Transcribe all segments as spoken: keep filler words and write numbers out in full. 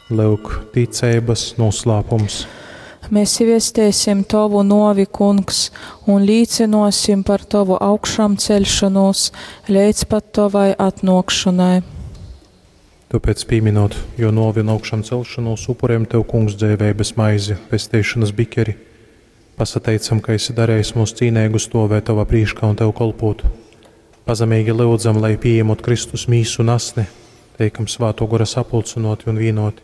Lyuk, ticeibas noslēpums. Mēs viestēsim Tovu novi, Kungs, un līcinosim par Tovu augšām celšanos līdz pat Tovai atnākšanai. Tāpēc pieminot, jo novi un augšām celšanos upuriem Tev, Kungs, dzēveibas maizi, pestīšanas bikeri, pasateicam, ka esi darījis mūs cīnēgu stovēt Tavā prīškā un Tev kolpot. Pazemīgi lūdzam, lai pieņemot Kristus mīsu un asni, teikam svāto gora sapulcinoti un vienoti.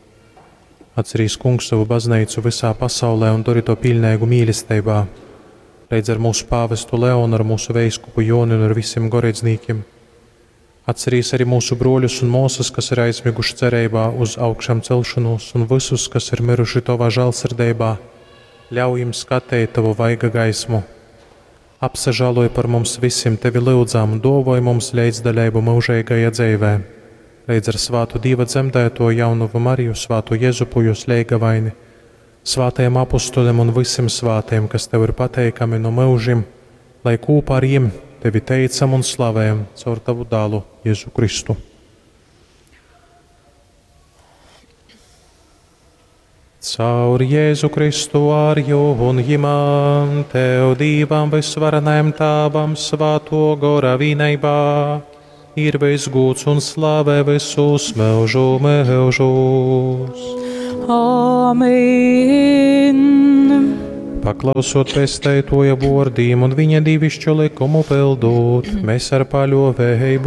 Atcerīs, Kungs, savu baznīcu visā pasaulē un dori to pilnīgu mīlestībā. Leidz ar mūsu pāvestu Leonu, ar mūsu veiskupu Joni un ar visiem goreidznīkiem. Atcerīs arī mūsu broļus un māsas, kas ir aizmiguši cerībā uz augšām celšanos, un visus, kas ir miruši Tavā žēlsirdībā. Ļauj jums skatīt Tavu vaiga gaismu. Apsažāloj par mums visiem, Tevi lūdzām, un dovoj mums līdzdaļību mūžīgajā dzīvē. Līdz ar svātu Dieva dzemdēto jaunuvu Mariju, svātu Jezupu, jūs leigavaini, svātajiem apustuļiem un visiem svātiem, kas Tev ir pateikami no mūžiem, lai kopā ar jiem Tevi teicam un slavējam caur Tavu dālu Jēzu Kristu. Caur Jēzu Kristu ar jū un jimam, Tev Dīvam visvarenajam Tāvam svāto gora vīneibā, ir visgūts un slavē visus mūžu mūžus. Amen. Paklausot pesteitoja vārdiem un viņa divišķo likumu pildot, mēs ar paļovēju